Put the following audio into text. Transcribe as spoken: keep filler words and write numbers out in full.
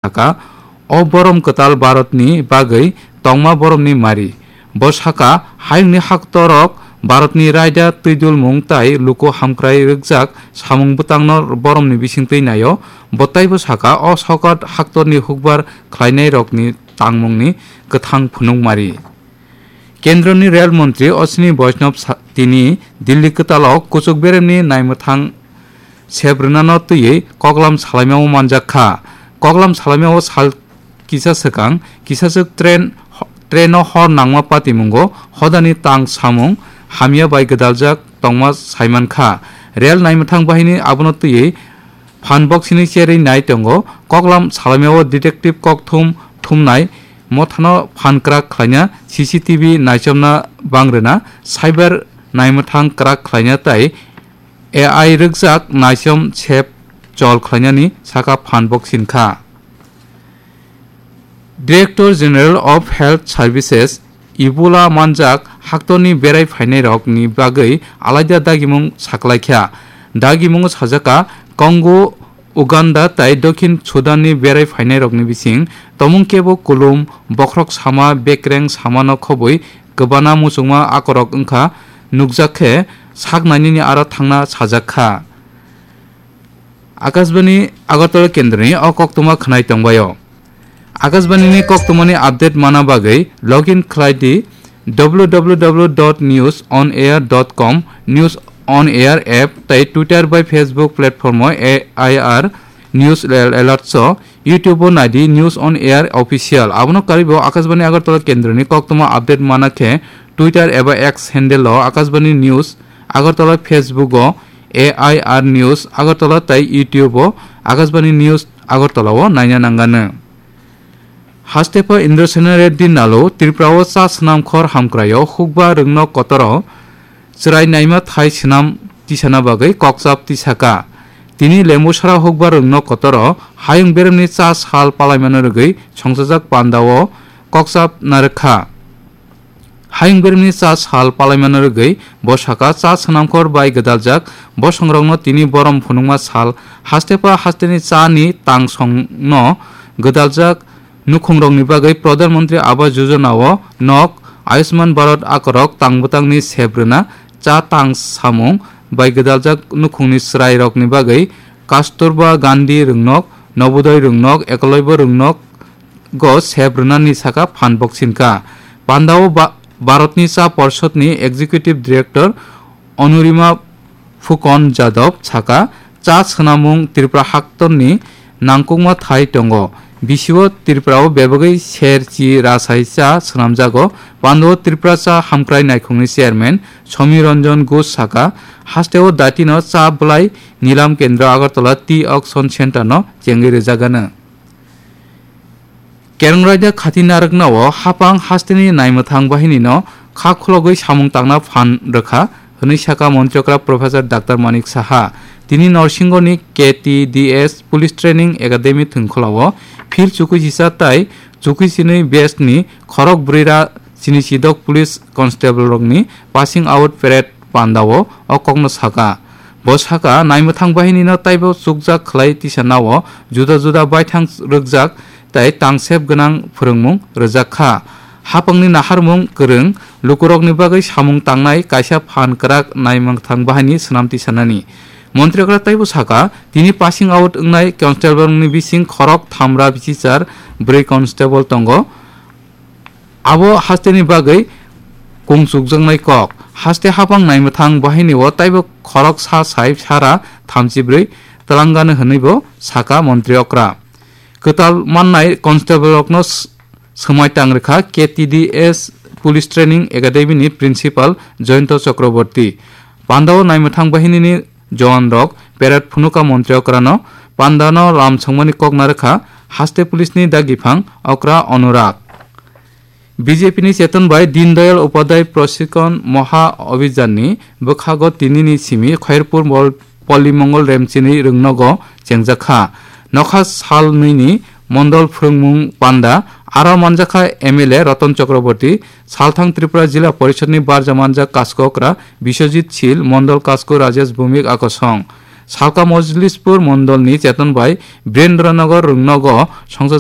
saka, o borom kwtal Bharatni bagwi tongma boromni mari. Bo saka, hayungni haktorok Bharatni raida twidulmung tai luku hamkrai rwkjak samung bwtangno boromni bisingtwi naio. Bo taibo saka, o sokat haktorni hukbar khlainairokni tangmungni kwthang phunukmari. Kendroni Rel Montri Ashwini Vaishnaw sa-, tini Delhi kwtalo kuchuk beremni naimwthang sep rwnano twiwi koklam salaimao manjak kha. Koklam salaimao sal kisa swkang kisaswk train, traino hor nangma patimungo hodani tang samung hamya bai gwdaljak tongma saiman kha. Rel naimwthang bahini abono twiwi phan boksini cherwi nai tongo. Koklam salaimao detective kokthum thumnai mothano phan kwrak khlaina C C T V naichomna bangrwna, cyber naimwthang kwrak khlaina tai A I rwkjak naichom sep chol khlainani saka phan boksin kha. Director General of Health Services Ebola manjak haktorni berai phainairokni bagwi alaida dagimung saklaikha. Dagimungo sajaka Congo, Uganda tai Dokhin Sudanni berai phainairokni bising tomung kebo kulum, bokhorok sama, bekreng samano khobwi kwbana muchungma akorok wngkha nukjak khe sak nainini aro thangna sajak kha. Akashbani Agartala kendroni o koktwma khwnai tongbaio. Akashbanini koktwmani update mana bagwi login khlai di w w w dot news on air dot com, News on Air app tai Twitter bai Facebook platform o A I R News Alerts o, YouTube o nai di News on Air Official. Abono karwi bo Akashbani Agartala kendroni koktwma update mana khe Twitter eba X handle o Akashbani News Agartala, Facebook o A I R News Agartala tai YouTube o Akashbani News Agartala o naina nangano. Haste pha Indrasena Reddy Nalu Tripura o cha swnam khor hamkrai o hukba rwngno kotor o chwrai naima thai swnam tisana bagwi kokchap tisaka. Tini Lembusara hukba rwngno kotor o hayung beremni cha sal palaimano rwgwi songchajak panda o kokchap narwkha. Hayung beremni cha sal palaimano rwgwi bo saka cha swnamkhor bai gwdaljak bosongrokno tini borom phunukma sal haste pha hasteni cha ni tangsongno gwdaljak nukhungrokni bagwi Pradhan Mantri Awas Yojana o nok, Ayushman Bharat akorok tang bwtangni sep rwna, cha tang samung bai gwdaljak nukhungni chwrairokni bagwi Kasturba Gandhi rwngnok, Nobodoy rwngnok, Eklavya rwngnok, go sep rwnani saka phan boksin kha. Pandao ba-, Bharatni Cha Porshadni Executive Director Anurima Phukon Jadhav saka, cha swnamung Tripura haktorni nangkukma thai tongo. Bisio Tripurao bebagwi ser chi rasai cha swnamjago. Pandao Tripura Cha Hamkrai Naikhungni Chairman Somi Ranjan Ghosh saka, hasteo datino cha bwlai Nilam Kendra Agartala Tea Auction Centre no chengwi rwjagano. Kerong raida khati narwkna o hapang hasteni naimwthang bahinino kha khulogwi samung tangna phan rwkha hwnwi saka Montri okra Professor Doctor Manik Saha. Tini Norsingoni K T D S Police Training Academy thwngkhwla o phil chukui sisa tai chukui sinwi batch ni khorok brwi ra chini sidok police constable rokni passing out parade panda o o kokno saka. Bo saka, naimwthang bahinino taibo chukjak khlai tisanao juda juda baithang rwkjak tai tangsep gwnang phwrwngmung rwjak kha. Hapangni naharmung kwrwng lukurokni bagwi samung tangnai kaisa phan kwrak naimwthang bahini swnam tisanani. Montri okra taibo saka, tini passing out wngnai constable rokni bising khorok thamra bisichar bwrwi constable tongo. Abo hasteni bagwi kung chukjaknai kok. Haste hapang naimwthang bahinio taibo khorok sa sai sara thamchi bwrwi twlangano hwnwibo saka Montri okra. Kwtal mannai constable rokno s-, swmai tang rwkha K T D S Police Training Academy ni Principal Jayanta Chakraborty. Pandao naimwthang bahinini Jowan rok parade phunuka Montri okrano pandano lam songmani kok narwkha haste police ni dagiphang okra Anurag. B J P ni cheton bai Deen Dayal Upadhyay Prashikshon Maha Abhiyan ni bwkhago tinini simi Khairpur Mol-, Polli Mongol Remchini rwngnogo chengjakha. Nokha sal nwi ni mondol phwrwngmung panda aro manjakha M L A Ratan Chakraborty, Salthang Tripura Jila Porishad ni barja manjak kasko okra Biswajit Sil, Mondol Kasko Rajesh Bhowmik akosong. Salka Mojlispur Mondolni Cheton bai Birendra Nagar Rungnogo Songjo